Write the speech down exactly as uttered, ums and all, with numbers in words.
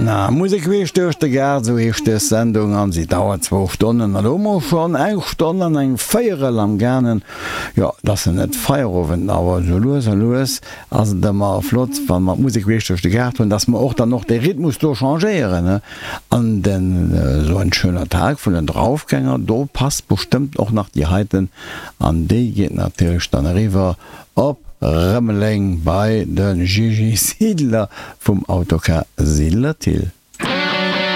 Na, Musek queesch duerch de Gaart, esou heescht dës Sendung an si dauert zwou Stonnen. An elo hu mer schonn eng Stonn an eng Véierel am gaangen. Jo, et ass nach net Feierowend, awer esou lues a lues ass et ëmmer flott, wa mer d'Musek queesch duerch de Gaart hunn, dass mer och dann och de Rhythmus do changéieren, ne? An den So ein schöner Tag vun den Draufgänger, do passt bestëmmt och nach déi heiten an déi geet natierlech dann eriwwer op Rëmeleng bei de Gigi Siedler vum Autocar Siedler Thill.